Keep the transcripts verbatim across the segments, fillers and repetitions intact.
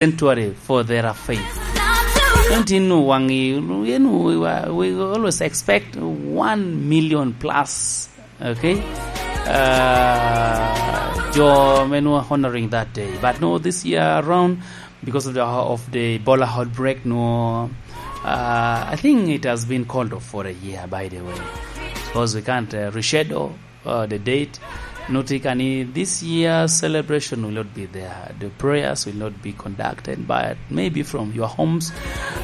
sanctuary for their faith. Don't you know, Wangi, you know, we, we always expect one million plus, okay? Uh, jo men were honoring that day. But no, this year around, because of the, of the Ebola outbreak, no, uh, I think it has been called off for a year, by the way, because we can't, uh, reschedule uh, the date. Note kani, this year celebration will not be there. The prayers will not be conducted, but maybe from your homes,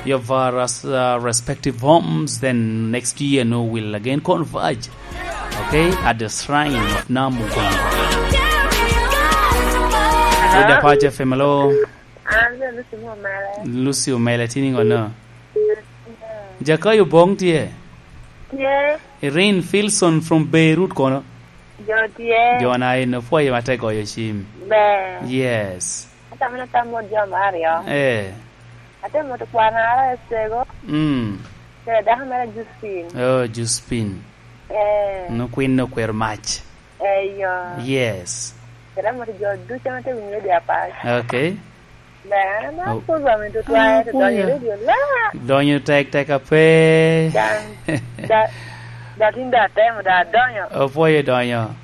your various, uh, respective homes. Then next year, no, we'll again converge, okay, at the shrine of Namugongo. With the Pacha F M, hello. An bene Lucy Omele. Lucy Omele, tini ngono? Jakayo Bong tye? Tye. Irene Filson from Beirut kono? Jo tye. Jo na en opwoyo ma te goyo cim. Ber. Yes. Atamo ni atamo jo me aryo. Eh. Atemo to kwana ara Esego. Mm. Kede dako mere Josephine. Oh, Josephine. Eh. No kwin no kwero mac. Eh, yo. Yes. Kede atamo to jo ducu ame te winyo radio apac. Okay. Ber, an amaro program i tutwae, to donyo i radio la. Donyo tek tek ape. Dan, da, da tin da atemo, da adonyo. Opwoyo donyo.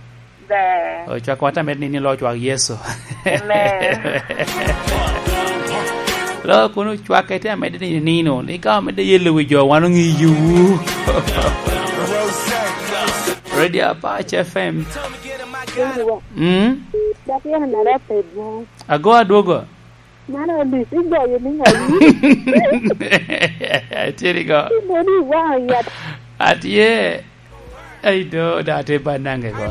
Ber. Ocwak wat amed nini lo cwak Yecu. Amen. Lo kun ocwak ete amed nini nino, ni ka omedde yelo wi jo, wan ong'iyo. Radio Apac F M. Mm? Dok yam inara pe dwong. Ago adwogo. Man Alice, igoyo ni ŋo? Atye ni go. Ibedo i waŋ yat. Atye. Ai do, da atye ba nange go.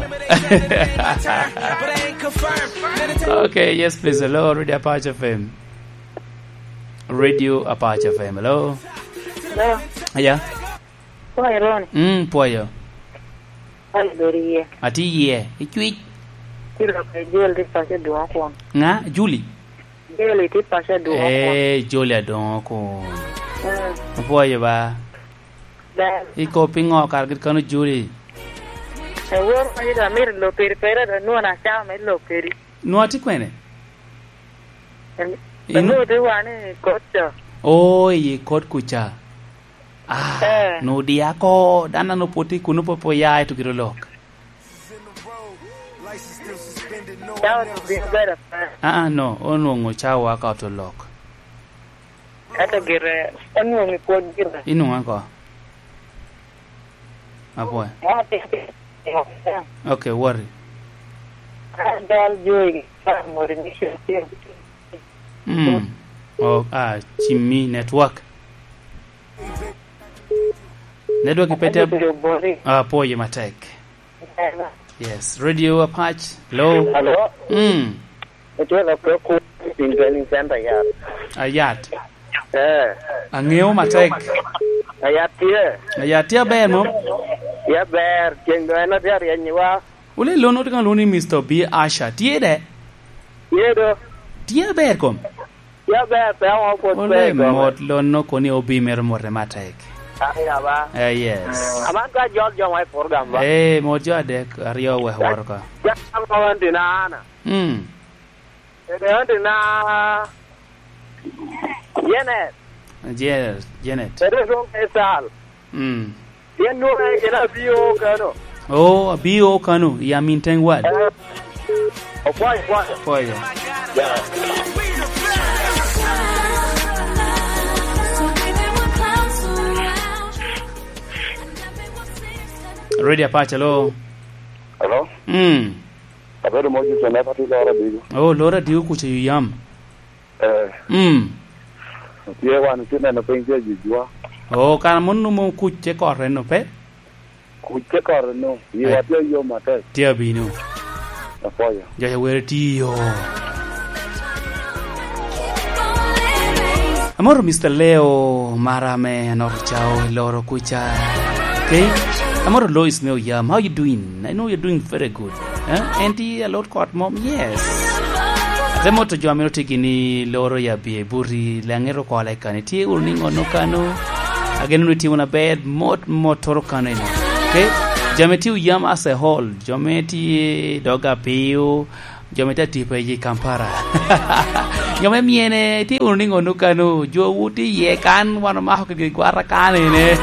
Okay, yes, please. Hello, Radio Apac F M. Radio Apac F M. Hello. Hello. Yeah. Pwoyo, Ron. Mm, pwoyo. Pwoyo, bedo iye. Atye iye. Icwic. Ci lok i Jel tye paco Adwoŋ kun. Ŋa? Juli? Jel tye paco Adwoŋ kun. Eh, Juli Adwoŋ kun. Mm. Apwoyo ba. Ber. Iko piŋo kara gin kano Juli? Awor ma yudo amito lok kedi, pera da nwon acao me lok kedi. Nwa tye kwene? Em, ino- anwoŋo tye wan i kot ca. Oh, i kot kuca. Ah, eh. No dia ko, dan ano pwod tye kuno, pwod pe oya, ento gire olok. Cawa tye bino bedo pe. Ah, ah, no, onwoŋo cawa ka oto lok. Ento gire, onwoŋo i pwod gire. Inwoŋo ako? Apwoyo. Wan atye ka timo. Okay, worry. An dal jo i Farmer Mission tye. Mm. Oh, ah, cimmi network. Network ipete ab-, Abiro bori. Ah, apwoyo matek. Ena. Yes, Radio Apac. Hello. Hello. Mm. Itye ka pe ku piny training center Ayat. Ayat. Eh. Aŋeo matek. Ayat tye. Ayat tye aber mo? Tye aber. Ceng doŋ en atye aryeny wa. Wule lon otye ka lwongo ni Mister B Asha. Tye de? Tye do. Tye aber kom? Tye aber, pe aŋo pwod pe i kome. Ole mot lon no koni obi mero mote matek. Aya ba. Eh, yes. Aman ka jol jo ma i program ba. Eh, mot jo adek, aryo wek woro ka. Ja, ja, ja, Auntie na Ana. Mm. Kede Auntie na Janet. Janet, Janet. Kede Dong Esal. Mm. Pien nwoŋo en gin abio kano. Oh, abio kano, i Aminteŋ Ward. Eh, okwayo, okwayo. Okwayo. Yeah. Radio Apac, hello. Hello? Mm. Abedo Moses Onepa, tye loro Adigo. Oh, loro Adigo kuca i yam. Eh. Mm. Tye wan tye neno piny tye jujwa. Oh, kara mon numo kuc te kore no pe? Kuc te kore no. Yiwa tye yom atek. Tye abino. Apwoyo. Jo ya were tye yo. Amoro Mister Leo, mara me anoro cao i loro kuca. Okay? Amoro Lois me oyam. How you doing? I know you're doing very good. Eh? En tye alot kot mom? Yes. Ate moto jo amito tye gini loro ya bie buti, le aŋeto kola i kani. Tye wunu ni ŋono kano? Ageno ni tye wunu aber, mot, mot toro kano eno. Okay? Jami tye oyam as a whole. Jo me tye dog apiyo, jo me tye atipa i Kampala. Jo me myene, itye wunu niŋo nu kano? Jowu tye iye kan, wan omako kede gwata kan ene.